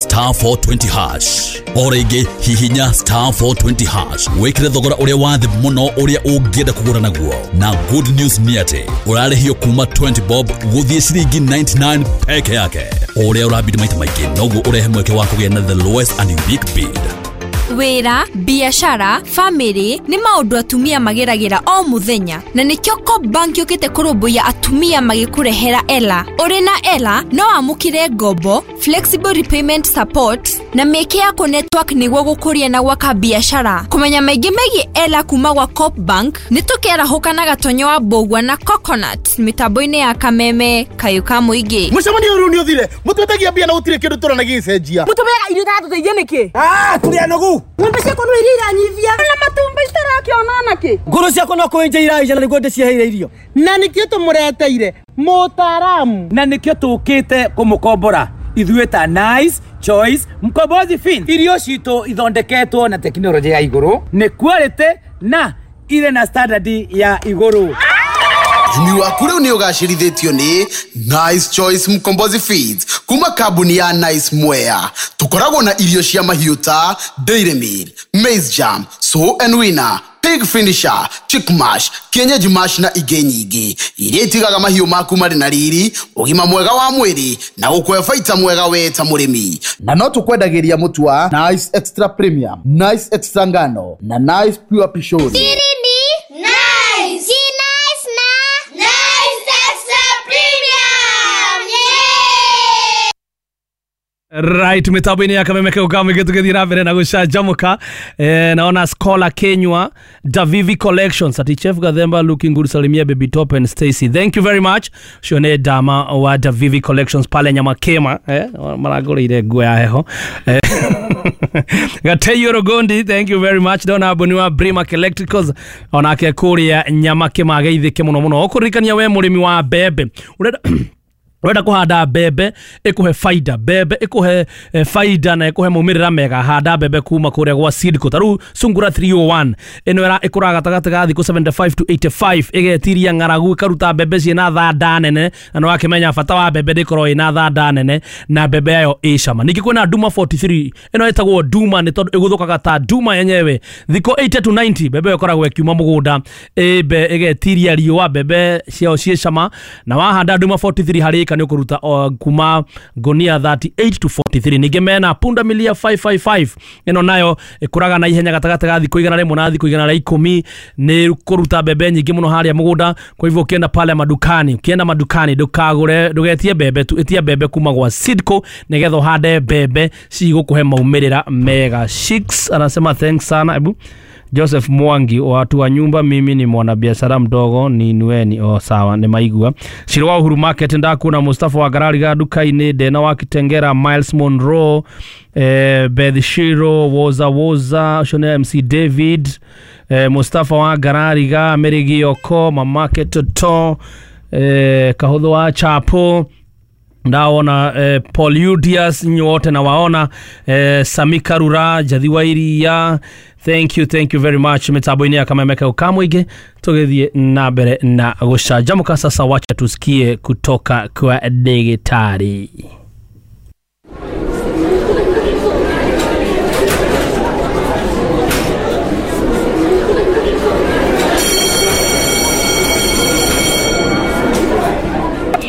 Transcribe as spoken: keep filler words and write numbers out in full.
star four twenty hash. O rĩngĩ hihinya star four twenty hash wĩkĩre thogora ũrĩa wa thĩ mũno ũrĩa ũngĩenda kũgũra naguo. Na good news nĩ atĩ ũrarĩhio kuma twenty bob gũthiĩ ciringi ninety-nine peke yake. O ũrĩa ũrabidi maita maingĩ noguo ũrehe mweke wa kũgĩa na the lowest and unique bid. Wĩra, biashara, family nĩ maũndũ atumia mageragĩra o mũthenya, na nĩkĩo Co-op Bank yũkĩte kũrũmbũiya atumia magĩkũrehera Ela. Ũrĩ na Ela no wamũkĩre ngombo, flexible repayment support na mĩeke ya kũ-network nĩguo gũkũria na gwaka biashara. Kũmenya maingĩ megiĩ Ela kuma gwa Co-op Bank nĩ tũkĩarahũka na Gatonyo wa Mbũgua na Coconut mĩtambo-inĩ ya Kameme kayũ ka mũingĩ. Mũcemanio ũyũ nĩ ũthire, mũtwetagia mbia na gũtirĩ kĩndũ tũrona gĩgĩcenjia. Mũtũmeaga irio itatũteithia nĩkĩ? Ah, tũrĩ anogu. Ng'ombe ciakwa no iria iranyivia na matumbi itarakĩona nakĩ. Ngũrũ ciakwa no kũenja iraija na nĩguo ndĩciheire irio. Na nĩkĩo tũmũreteire mũtaaramu. Na nĩkĩo tũkĩte kũmũkombora ithuĩ ta Nice Choice Mkombozi Fin. Irio citũ ithondeketwo na tekinoronjĩ ya igũrũ, nĩ quality na irĩ na standard ya igũrũ. Ũrĩmi waku rĩu nĩ ũgacĩrithĩtio nĩ Nice Choice Mkombozi Feeds kuma kambuni ya Nice Mwea. Tũkoragwo na irio cia mahiũ ta Dairy Meal, Maize Jam, Sow and Winner, Pig Finisher, Chick Mash, Kienyeji Mash na ingĩ nyingĩ iria itigaga mahiũ maku marĩ na riri, ũgima mwega wa mwĩrĩ na gũkũhe baita mwega we ta mũrĩmi. Na no tũkwendagĩria mũtu wa Nice Extra Premium, Nice Extra Ngano na Nice Pure Pishori. Siri ni Nice. Si Nice na Nice Extra Premium. Yeah! Right, mitambo-inĩ ya Kameme kau ka mũingĩ tũgĩthiĩ na mbere na gũcanjamũka. Eh, naona Scholar Kenywa, Davivi Collections, ati Chef Gathemba looking good, salimia Baby Top and Stacy. Thank you very much. Ũcio nĩ Dama wa Davivi Collections pale Nyamakema, eh, maragũrĩire nguo ya heho. Eh, Gateyo Rogondi, thank you very much. Ndona Boni wa Brimac Electricals onake kũrĩa Nyamakema ageithĩke mũno mũno. Ũkũririkania we mũrĩmi wa mbembe ũrenda urenda kuhanda mbembe ikuhe faida, mbembe ikuhe eh, faida na ikuhe maumirira mega, handa mbembe kuma kuria gwa Seedco. Taru Sungura three oh one ino era ikuraga gatagati ga thiku seventy-five to eighty-five, igetiria ng'aragu ikaruta mbembe ciina thanda nene, na nĩwakĩmenya bata wa mbembe ndĩkorwo ĩna thanda nene na mbembe yayo ĩ cama. Ningĩ kwĩna Duma forty-three, ĩno ĩtagwo Duma nĩ tondũ ĩgũthũkaga ta Duma yenyewe. Thikũ eighty to ninety mbembe ĩyo ĩkoragwo ĩkiuma mũgũnda ĩmbe ĩgetiria riũa, mbembe ciayo ciĩ cama, na wahanda Duma forty-three harĩ ĩka nĩ ũkũruta uh, kuma ngonia thirty-eight to forty-three. Ningĩ mena Punda Milia five five five, ĩno nayo ĩkũraga na ihenya gatagatĩ ga thikũ igana rĩmwe na thikũ igana rĩa ikũmi, nĩ kũruta mbembe nyingĩ mũno harĩa mũgũnda. Kwa hivyo ukienda pale madukani, ukienda madukani ndũkagũre, ndũgetie mbembe tu, ĩtia mbembe kuma gwa Seedco nĩgetha ũhande mbembe cigũkũhe maumĩrĩra mega. Shix anasema thanks sana. Ebu Joseph Mwangi, watu wa nyumba, mimi ni mwanabiashara mdogo, ni nueni. Oh, sawa, ni maigua. Shiro wa Uhuru Market ndakuna Mustafa wa Garariga duka-inĩ, Dena wa Kitengera, Miles Monroe, eh, Beth Shiro, Woza Woza, Shone M C David, eh, Mustafa wa Garariga, Mary Gioko, Mamake Toto, eh, Kahotho wa Chapo, ndaona eh, Paul Udias, nyote na waona eh, Samika Rura, Jathiwa Iria. Thank you, thank you very much. Mitambo-inĩ ya Kameme kau ka mũingĩ tũgĩthiĩ na mbere na gũcanjamũka. Sasa wacha tusikie kutoka kwa ndagĩtarĩ.